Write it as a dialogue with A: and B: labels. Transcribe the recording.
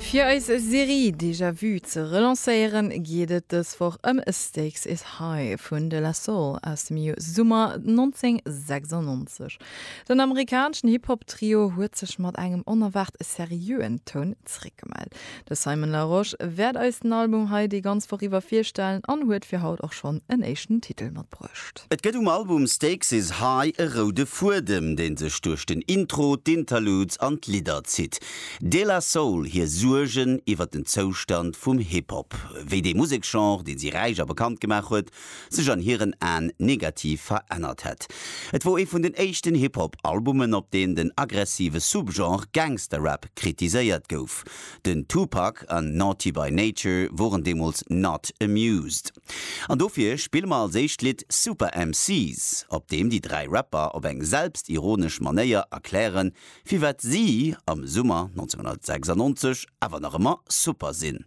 A: Fir eis Serie Déjà Vu ze relancéieren, geet et dës Woch ëm Stakes Is High vun De La Soul aus dem Summer 1996. Den amerikaneschen Hip-Hop-Trio huet sech mat engem onerwaart seriöen Toun zeréckgemellt. De Simon Larosche wäert eis den Album hei déi ganz Woch iwwer virstellen an huet fir haut och schonn en éischten Titel matbruecht.
B: Et gëtt um Album Stakes Is High e roude Fuedem, dee sech duerch den Intro, d'Interludes an d'Lidder zitt. De La Soul hir Suergen iwwer den Zoustand vum Hip-Hop, wéi dee Museksgenre, dee si räich a bekannt gemaach huet, sech an hiren Aen negativ verännert hätt. Et wor ee vun den éischten Hip-Hop-Albumen, op deem den aggressive Subgenre Gangsta-Rap kritiséiert gouf. Den Tupac an Naughty by Nature woren deemools not amused. An dofir spille mer als éischt Lidd Super MCs, op deem déi 3 Rapper op eng selbstironesch Manéier erklären, firwat si am Summer 1996 awer nach ëmmer super sinn.